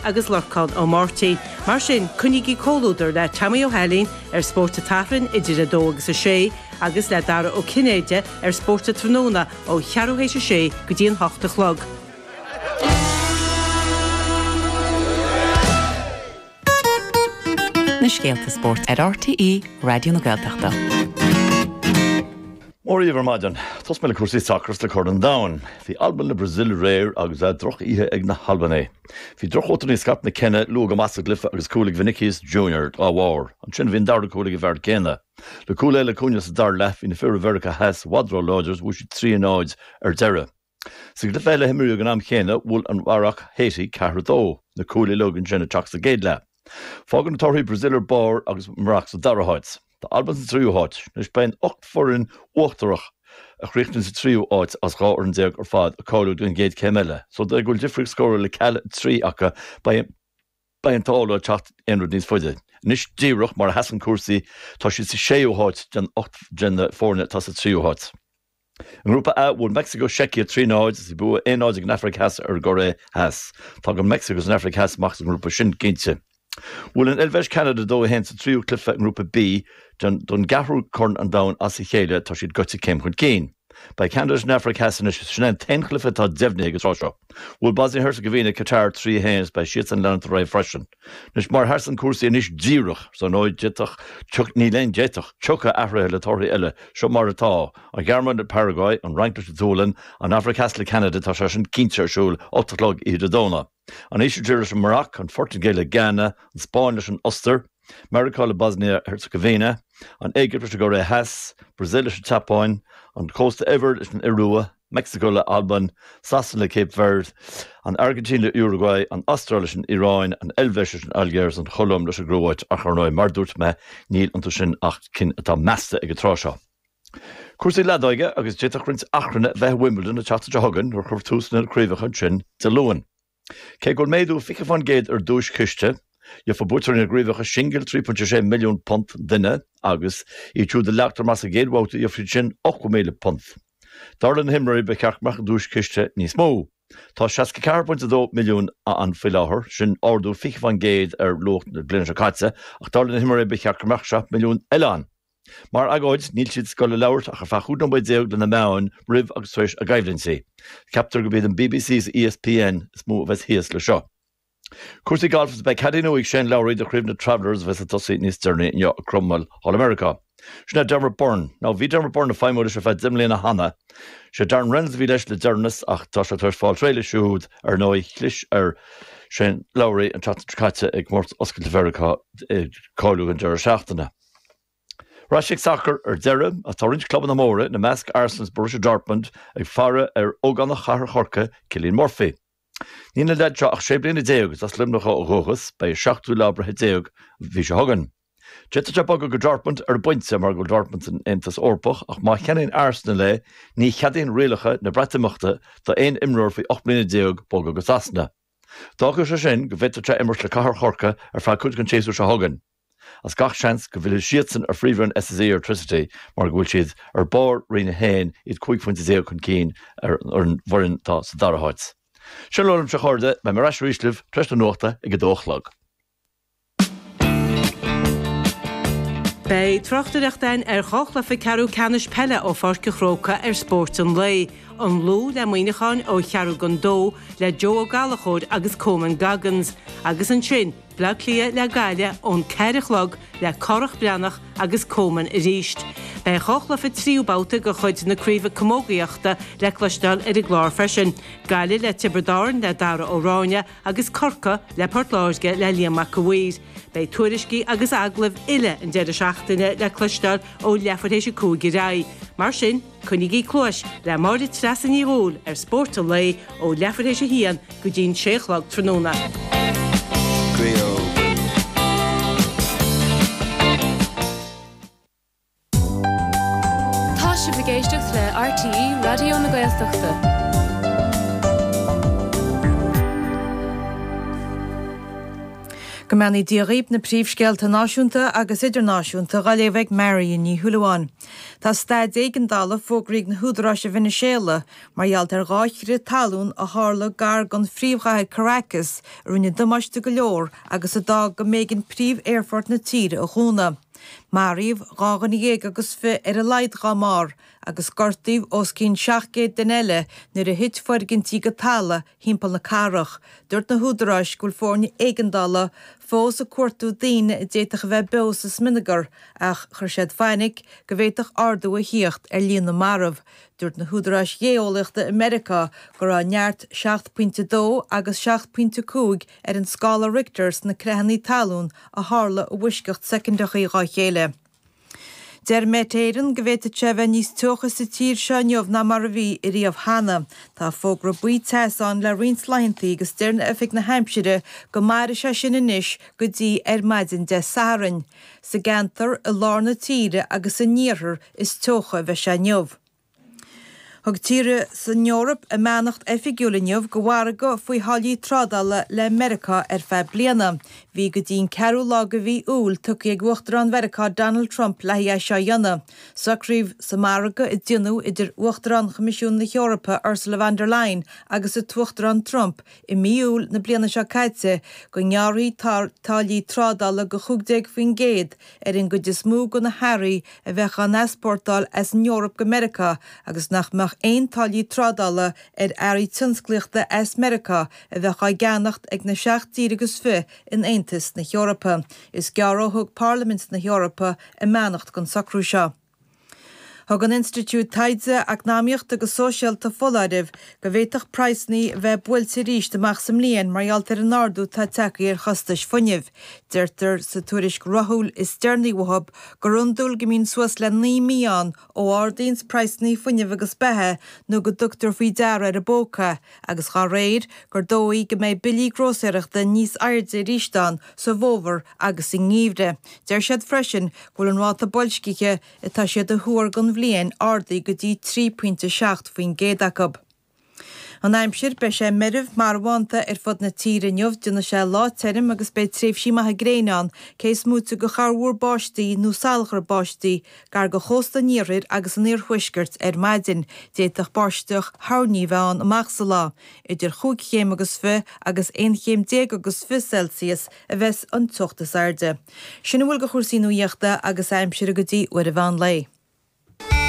agus Lorcán Ó Máirtín. Mar sin, coinnígí comhluadar le Tommy Ó hAilín ar Spórt an tSathairn idir 2 agus 6 agus le Dara Ó Cinnéide ar Spórt an Tráthnóna ó cheathrú théis a sé go dtí an hocht a chlog. Na scéalta spóirt ar RTÉ Raidió na Gaeltachta. Mora dhaoibh ar maidin. Tosóidh mé le cúrsaí sacair is le Corn an Domhain. Bhí Albain le Brazil aréir agus droch-oíche ag na hAlbanaigh. Bhí drochvóta níos scaipthe na cine luath go maith sa gcluiche agus cúl ag Vinicius Junior dá bharr. Ansin bhí an dara cúl ag an bhfear céanna. Le cúl eile chugainne sa dara leath bhí na fir ó Mheiriceá Theas i bhfad ró-láidir is bhuaigh siad 3-0 ar deireadh. Sa gcluiche eile a imríodh ag an am chéanna, bhuail an Mharaic Haiti 4-2, na cúil uilig ansin ag teacht sa gcéad leath. Fágann na torthaí Brazil ar barr agus an Mharaic sa dara háit. Tá Albain sa tríú háit. Anois beidh an 8 foireann uachtarach a chríochnaíonn sa tríú háit as 12 fhoireann ar fad ag cáiliú don gcéad chéim eile. So de go bhfuil difríocht scórála ceal 3 acu beidh beidh an t-ádh leo teacht aon rud níos faide. Anois díreach mar a sheasann cúrsaí tá siad sa séú háit den 8 den na foirne atá sa tríú háit. I nGrúpa A, bhuail Meicsiceo Seicia 3, 0 agus bhí bua 1, 0 ag an Afraic Theas ar an gCóiré Theas. Tá an Mheicsiceo agus an Afraic Theas amach as an ngrúpa sin cinnte. Bhuail an Eilvéis Ceanada 2, 1 sa tríú cluiche i nGrúpa B den don gceathrú Corn an Domhain as a chéile. Tá siad gaibhte céim chun cinn. Beidh Ceanada leis an Afraic Theas anois. Sin é an t-aon chluiche atá deimhnithe ag an tráth seo. Bhuail Bosnia Herzegovina Qatar 3, 1 agus beidh siadsan ag leanacht ar aghaidh freisin. Anois, mar a sheasann cúrsaí anois díreach, so ar ndóigh, d'fhéadfadh, tiocfaidh, níl aon d'fhéadfadh, tiocfaidh athruithe le torthaí eile, seo mar atá, an Ghearmáin le Paraguay, an Fhrainc leis an tSualainn, an Afraic Theas le Ceanada, tá sé sin cinnte ar siúl 8 a chlog oíche Dé Domhnaigh. An Ísiltír leis an Maroc, an Phortaingéil le Ghana, an Spáinn leis an Ostair, Meiriceá le Bosnia Herzegovina, an Éigipt leis an gCóiré Theas, Brazil leis an tSeapáin, an Cósta Eabhair leis an Iorua, Meicsiceo le Albain, Sasana le Cape Verde, an Airgintín le Uruguay, an Astráil leis an Iaráin, an Eilvéis leis an Ailgéir agus an Cholóim leis an gCróit ach ar ndóigh, mar a dúirt mé, níl iontu sin ach cinn atá measta ag an tráth seo. Cúrsaí leadóige agus d'fhéadfadh roinnt achrainn a bheith i Wimbledon an tseachtain seo chugainn nuair a chuirfear tús lena craobhacha ansin Dé Luain. Cé go bhfuil méadú 20% ar an duaischiste, gheobhaidh buaiteoirí na gcraobhacha singil £3.6 milliún an duine agus iad siúd a leagtar amach sa gcéad bhabhta gheobhaidh siad sin £80,000. Dar le na himreoirí ba cheart go mbeadh an duaischiste níos mó. Tá 64.2 milliún ann faoi láthair, sin ardú 20% ar luach na bliana seo caite, ach dar le na himreoirí ba cheart go mbeadh 7 milliún eile ann. Mar agóid, níl siad ag dul a labhairt ach ar feadh 15 nóiméad le na meáin roimh agus tar éis a gcoimhlintí. Ceaptar gurb iad an bbc is ESPN is mó a bheas thíos le seo. Cúrsaí gailf is beidh caddie nua ag Shane Lowry do chraobh na Travelers a bheas ag tosaí níos deireanaí inniu i gCromwell thall i Meiriceá. Sin é Dermot Byrne. Now bhí Dermot Byrne ag feidhmiú leis ar feadh 10 mbliana cheana. Sé Darren Reynolds a bhí leis le deireanas ach tá sé tar éis fáil réidh leis siúd ar ndóigh. Chlis ar Shane Lowry an tseachtain seo caite i gComórtas Oscailte Mheiriceá ag cáiliú don deireadh seachtaine. Ar ais ag sacar ar deireadh, ach tá roinnt clubanna móra, ina measc Arsenal is Borussia Dortmund, ag faire ar ógánach chathair Chorcaí, Cillian Murphy. Níl an leaid seo ach 16 bliana is as Luimneach ó dhúchas, beidh a seachtú lá breithe déag an mhí seo chugainn. D'fhéadfadh sé bogadh go Dortmund ar an bpointe mar go bhfuil Dortmund san Aontas Eorpach ach má cheannaíonn Arsenal é, ní cheadaíonn rialacha na Breatimeachta d'aon imreoir faoi 18 mbliana bogadh go Sasana. D'fhágfadh sé sin go bhféadfadh sé imirt le cathair Chorcaí ar feadh cuid den tséasúr seo chugainn. As gach seans go bhfillfidh siadsan ar phríomhroinn SSE Airtricity mar go bhfuil siad ar barr Roinn 1, iad 15 phointe chun cinn ar an bhfoireann atá sa dara háit. Sin a bhfuil uaimse a chairde, beidh mé ar ais arís libh tar éis na nuachta ag a dó a chlog. Beidh tráchtaireacht againn ar dhá chluiche ceathrú ceannais peile ó Pháirc an Chrócaigh ar Spórt an Lae, An Lú le Muineachán ó cheathrú don dó le Joe Ó Gallchóir agus Coman Goggins agus ansin Bleá Cliath le Gaillimh ón ceathair a chlog le Cárthach Breathnach agus Coman arís. Beidh dhá chluiche tríú babhta de chuid na Craoibhe Camógaíochta le cloisteáil ar an gclár freisin, Gaillimh le Tiobraid Árann le Dara Ó Ráinne agus Corcaigh le Port Láirge le Liam Mac a' Mhaoir. Beidh tuairiscí agus agallaimh uile an deireadh seachtaine le cloisteáil ó leathuair théis a 5 ar aghaidh. Mar sin, coinnígí cluais le Máire Treasa Ní Dhubhghaill ar Spórt an Lae ó leathuair théis a haon go dtí'n sé a chlog tráthnóna. Tá sibh ag éisteacht le RTÉ Raidió na Gaeltachta. Go mbeannaí Dia dhaoib, na príomhscéalta náisiúnta agus idirnáisiúnta dhá léamh ag Marion Ní Shúilleabháin. Tá staid éigeandála fógraithe ag na húdaráis i Veiniséala mar gheall ar dha chrith talún a tharla gar don phríomhchathair Caracas a rinne damáiste go leor agus a d'fhág go mb'éigean príomh-aerfort na tíre a dhúnadh. Maraíodh 12 dhuine ar a laghad dhá mbarr agus gortaíodh os cionn 700 duine eile nuair a thit foirgintí go talamh thimpeall na cathrach. Dúirt na húdaráis go bhfuil foirne éigeandála fós ag cuartú daoine a d'fhéadfadh a bheith beo sa smionagar ach chuir siad fainic go bhféadfadh ardú a thíocht ar líon na marbh. Dúirt na húdaráis ghéeolaíochta i Meiriceá go raibh neart 7.2 agus 7.5 ar an scála Richter sna creathanna talún a tharla i bhfoisceacht soicindeachaí dhá chéile. Deir Met Éireann go bhféadfadh sé a bheith níos teocha sa tír seo inniu ná mar a bhí ariamh cheana. Tá fógra buí teasa ann le roinnt laethanta agus deir Oifig na hAimsire go mairfidh sé sin anois go dtí ar maidin Dé Sathairn. Sa gceantar i lár na tíre agus san iarthar is teocha a bheidh sé inniu. Thug tíortha san Eoraip a mbeannacht oifigiúil inniu do mhargadh faoi tháillí trádála le Meiriceá ar feadh bliana. Bhí go dtí an ceathrú lá de mhí Iúil tugtha ag Uachtarán Mheiriceá Donald Trump le haghaidh é seo a dhéanamh. Socraíodh sa margadh a déanadh idir Uachtarán Choimisiún na hEorpa Ursula von der Leyen agus an tUachtarán Trump i mí Iúil na bliana seo caite go ngearrfaí táillí trádála de 15% ar an gcuid is mó de na hearraí a bheadh á n-easpórtáil as an Eoraip go Meiriceá agus nach mbeadh aon táillí trádála ar earraí tionsclaíochta as Meiriceá a bheadh á gceannacht ag na seacht dtír agus fiche in Aontas na hEorpa. Is gearr ó thug Parlaimint na hEorpa a mbeannacht don socrú seo. Thug an Institiúid Taighde Eacnamaíochta agus Sóisialta foláireamh go bhféadfadh praghsanna a bheith buailte arís amach sa mbliain mar gheall ar an ardú atá tagtha ar chostais fuinnimh. Deirtear sa tuairisc ráithiúil is deireanaí uathu gur iondúil go mbíonn suas le 9 mí ann ó ardaíonns praghsanna fuinnimh agus beatha nó go dtugtar faoi deara ar an bpóca agus dá réir gur dóigh go mbeidh billí grósaeireachta níos airde arís ann sa bhfómhar agus sa ngeimhreadh. Deir siad freisin go bhfuil an ráta boilscithe atá siad a thuar don bhliain ardaithe go dtí 3.7% acu. An aimsir, Beidh sé meirbh marbhánta ar fud na tíre inniu, déanfaidh sé lá tirim agus beidh tréimhsí maithe gréine ann, cé is móite de chorrmhúr báistí nó salachar báistí gar do chósta an iarthair agus an iarthuaiscirt ar maidin. D'fhéadfadh báisteach thoirní a bheith ann amach sa lá. Idir chúig chéim agus fi agus aon chéim déag agus fi Celsius a bheas an teocht is airde. Sin a bhfuil de chúrsaí nuaíochta agus aimsire go dtí uair an mheán lae.